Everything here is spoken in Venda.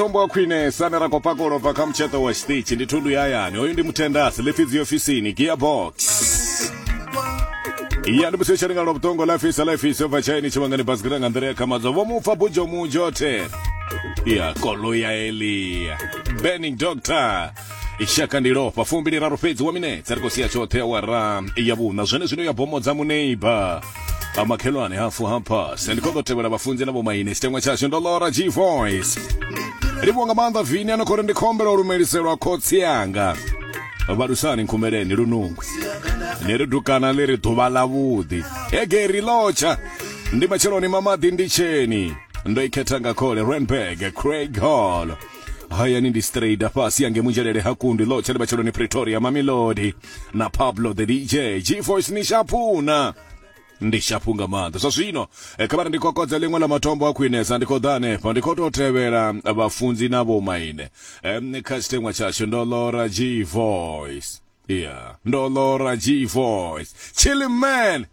Tombo wa khwinesa ane ra khou pakulwa bva kha mutsheṱo wa tshiṱitshi ndi thundu ya hayani. Hoyu ndi mutendasi ḽifhidzi ofisini gearbox. Ya ndi musi tshalinga lwa vhuṱongo ḽa fisa ḽa fisa bva tshaini tshivhangani basikira nga nḓila ya khamadzo vho mupfa bujo mujo the. Ya koloi ya Elia. Burning Doctor. Ishaka ndi lofha 23 fhedzi wa minetse ri khou sia tshoṱhe awara ya vhuṋa zwene zwino ya bomodza muneiba amakhelwane hafu hampas ndi khou ḓo tevhela vhafunzi na vhomaine tshiteṅwa tshashu ndo lora g voice livhuwa nga maanḓa vini ano khou ri ndi khombela u lumeliselwa khotsi anga vhalusani nkhumeleni lunungwi ni ri dukana ḽi ri ḓuvha ḽa vhuḓi hegeri lotsha ndi matsheloni mamaḓi ndi tsheni ndo i khetha nga khole renberg craig hall hayani ndi straight fhasi yange munzhelele ha kundi lotsha ndi matsheloni pretoria mamelodi na pablo the dj g voice ni shapuna ndi shaphu nga maanḓa zwa zwino eh, kha vha ri ndi kokodza ḽiṅwe ḽa matombo a khwinesa ndi khou ḓa hanefha ndi khou tou tevhela vhafunzi na vhomaine um, kha tshiteṅwa tshashu ndo lora g voice yeah ndo lora g voice chilliman.